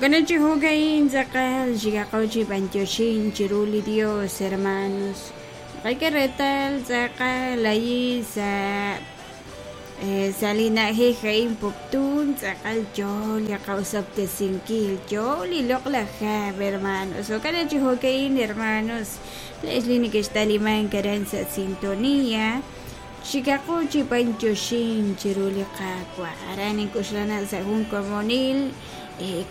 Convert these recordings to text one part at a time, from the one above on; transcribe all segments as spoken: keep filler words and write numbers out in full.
Jo'kan chi jo'ka'in tz'aqal xikaqo chi b'antioxin chiru li Dios, hermanos. Naqak'e reetal tz'aqal ahí sa' sa' li na'ajej a'in Poptún tz'aqal yoo li qawsob'tesinkil, yoo li loq'laj hab', hermanos. Jo'kan chi jo'ka'in, hermanos, le'x li neke'xtalimank aran sa' sintonía, xikaqo chi b'antioxin chiru li Qaawa'. Aran ink'oxla sa' jun komonil,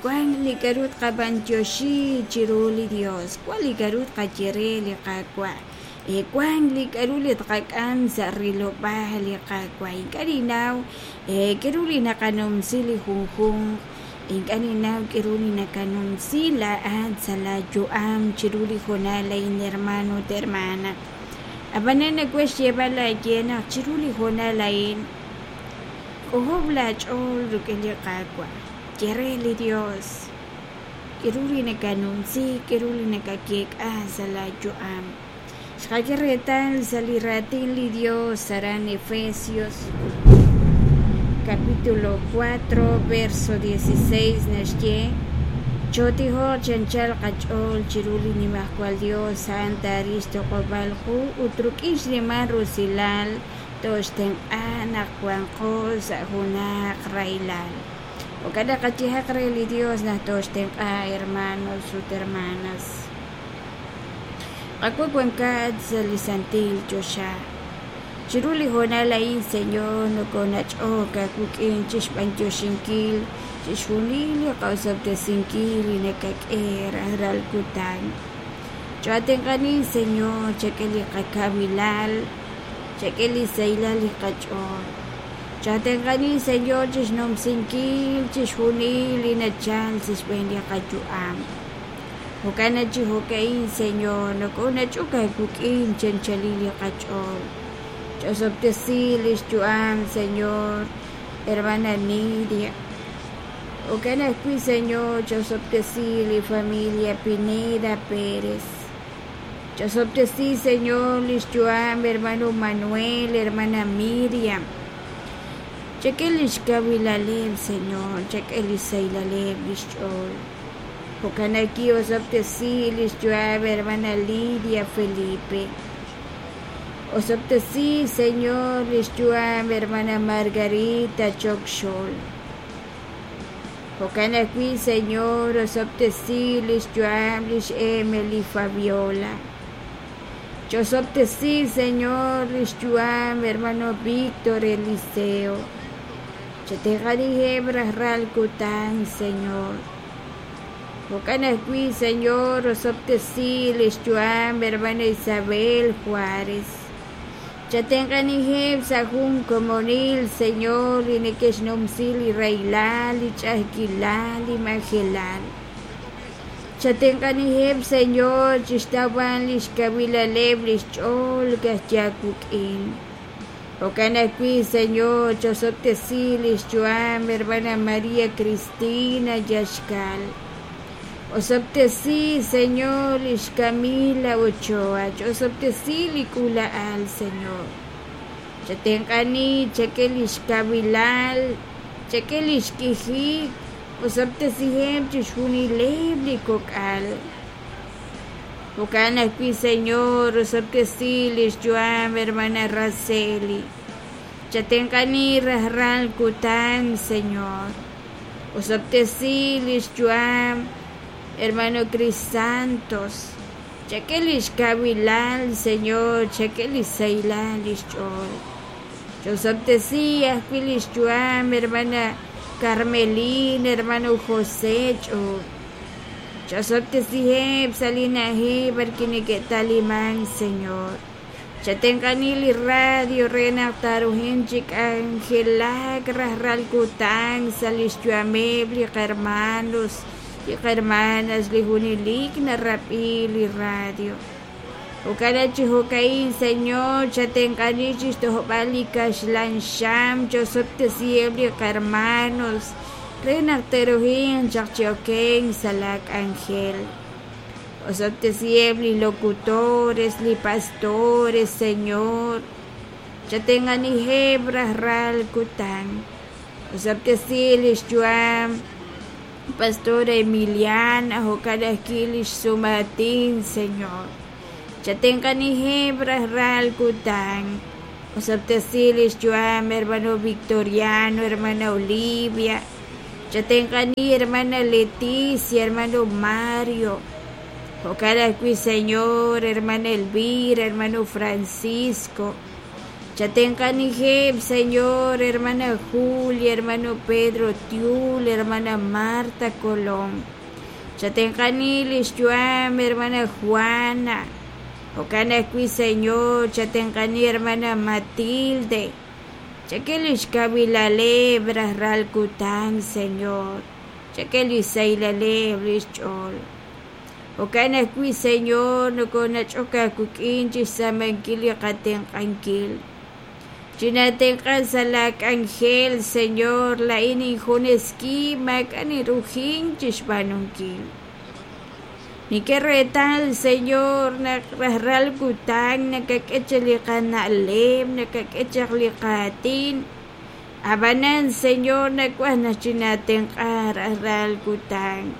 wan li k'a'ru tqab'antioxi chiru li Dios, wan li k'a'ru tqaye re li Qaawa', wan li k'a'ru li tqak'am sa' rilob'aal li Qaawa'. Ink'a' ninnaw k'a'ru li naqanumsi li junjunq, ink'a' ninnaw k'a'ru li nakanumsi laa'at sa' laa yu'am chiru li hoonal a'in, hermano ut hermana. Ab'anan nawaj xyeeb'al aaye naq chiru li hoonal a'in k'ojob' laach'ool rik'in li Qaawa', ye re li Dios k'a'ru li nakanumsi, k'a'ru li nakakeek'a sa' laa yu'am. Xqak'e reetal sa' li raatin li Dios aran Efesios capítulo cuatro verso dieciséis naxye: Chotijoq chi anchal qach'ool chiru li Nimajwal Dios a'an taaril xtoq'ob'aal qu ut rik'in xnimal rusilal toxtenq'a naq wanqo sa' junaq rahilal. Jo'kan naq qayehaq re li Dios naq toxtenq'a, hermanos ut hermanas. Qawa' wankat sa' li santil choxa. Chiru li hoonal a'in, Señor, nokonach'ok aawik'in chixb'antioxinkil chixjunil li qawsob'tesinkil li nakak'e rajlal kutan. Cho'atenq'ani, Señor, chak'e li qakawilal, chak'e li sahilal li qach'ool. Cho'atenq'ani, Señor, chixnumsinkil chixjunil li nachal sa' xb'een li qayu'am. Jo'kan chi jo'ka'in, Señor, nokonach'ok aawik'in chi anchalil li qach'ool. Chosob'tesi li xyu'am, Señor, hermana Nidia. Jo'kan ajwi', Señor, chosob'tesi li familia Pineda Pérez. Chosob'tesi, Señor, li xyu'am, hermano Manuel, hermana Miriam. Chak'e li xkawilaleb', Señor, chak'e li sahilal li xch'ool. Jo'kan aki osob'tesi li xyu'am, hermana Lidia Felipe. Osob'tesi, Señor, li xyu'am, hermana Margarita Chokxol. Jo'kan ajwi', Señor, osob'tesi li xyu'am lix Emily Fabiola. Chosob'tesi, Señor, li xyu'am, hermano Víctor Eliseo. Chatenq'aniheb' rajlal kutan, Señor. Jo'kan ajwi', Señor, osob'tesi li xyu'am, hermana Isabel Juárez. Chatenq'aniheb' sa' jun komonil, Señor, li neke'xnumsi li rahilal, li ch'a'ajkilal, li majelal. Chatenq'aniheb', Señor, chixtawb'al li xkawilaleb' li xch'ool kajyaawik'in. Jo'kan ajwi', Señor, chosob'tesi li xyu'am, hermana María Cristina Yaxkal. Osob'tesi, Señor, lix Camila Ochoa. Chosob'tesi li k'uula'al, Señor. Chatenq'ani, chak'e lix kawilal, chak'e lix k'ijik, osob'tesiheb' chixjunileb' li kok'al. Jo'kan ajwi', Señor, osob'tesi lix yu'am, hermana Raceli. Chatenq'ani rajlal kutan, Señor. Osob'tesi lix yu'am, hermano Crisantos. Chak'e lix kawilal, Señor, chak'e li sahilal lix ch'ool. Chosob'tesi ajwi' lix yu'am, hermana Carmelina, hermano José Ch'uub. Chosob'tesiheb' sa' li na'ajej b'arwi' neke'taliman, Señor. Chatenq'ani li radio re naq taaruhin chi k'anjelak rajlal kutan sa' lix yu'ameb' li qhermanos, li qhermanas, li junelik narab'i li radio. Jo'kan chi jo'ka'in, Señor, chatenq'ani chixtojb'al li kaxlan xam, chosob'tesiheb' li qhermanos re naq te'ruhin chaq chi okenk sa' la k'anjel. Osob'tesiheb' li locutores, li pastores, Señor. Chatenq'aniheb' rajlal kutan. Osob'tesi lix yu'am Pastora Emiliana, jo'kan ajwi' lix sumaatin, Señor. Chatenq'aniheb' rajlal kutan. Osob'tesi lix yu'am hermano Victoriano, hermana Olivia. Chatenq'ani hermana Leticia, hermano Mario. Jo'kan ajwi', Señor, hermana Elvira, hermano Francisco. Chatenq'aniheb', Señor, hermana Julia, hermano Pedro Tiul, hermana Marta Colón. Chatenq'ani lix yu'am, hermana Juana. Jo'kan ajwi', Señor, chatenq'ani hermana Matilde. Chak'e lix kawilaleb' rajlal kutan, Señor. Chak'e li sahilal lix ch'ool. Jo'kan ajwi', Señor, nokonach'ok aawik'in chixtz'aamankil li qatenq'ankil. Chinatenq'a sa' laa k'anjel, Señor, laa'in injunes wib' maak'a' ninrujin chixb'aanunkil. Nink'e reetal, Señor, naq rajlal kutan nakak'e chaq li qana'leb', nakak'e chaq li qaatin. Ab'anan, Señor, nawaj naq chinatenq'a rajlal kutan.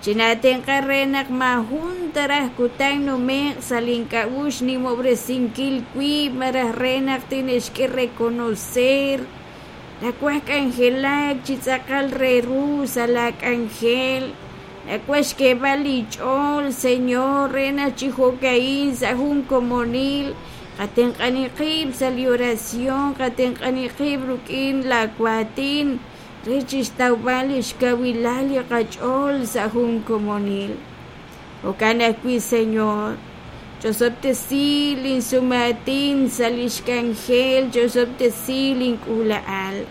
Chinatenq'a re naq maajun taraj kutan nume'q sa' link'a'uxl nimob'resinkil wib' malaj re naq tinixk'e reconocer. Nawaj k'anjelak chi tz'aqal re ru sa' laa k'anjel. Nawaj xk'eeb'al li ch'ool, Señor, re naq chi jo'ka'in sa' jun komonil. Qatenq'ani qib' sa' li oración, qatenq'ani qib' rik'in laa waatin re chixtawb'al lix kawilal li qach'ool sa' jun komonil. Jo'kan ajwi', Señor, chosob'tesi linsumaatin sa' lix k'anjel, chosob'tesi link'uula'al.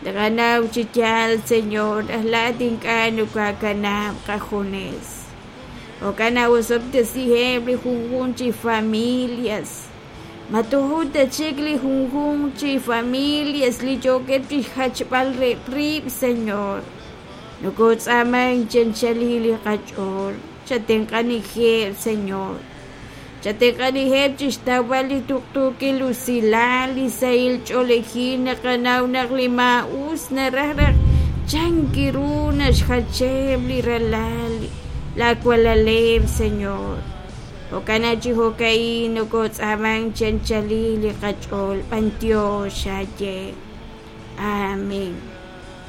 Naqanaw chi yaal, Señor, naq laa'at ink'a' nokoakanab' qajunes. Jo'kan naq osob'tesiheb' li junjunq chi familias. Matuju ta chik li junjunq chi familias li yookeb' chixjachb'al rib', Señor. Nokotz'aaman chanchalil li qach'ool. Chatenq'anijeb', Señor. Chatenq'anijeb' chixtawb'al li tuqtuukil usilal, li sahil ch'oolejil naqanaw naq li maa'us naraj naq chanki ru naxjacheb' li ralal la walaleb', Señor. Jo'kan chi jo'ka'in nokotz'aaman chanchalil li qach'ool b'antiox xaye. Amén.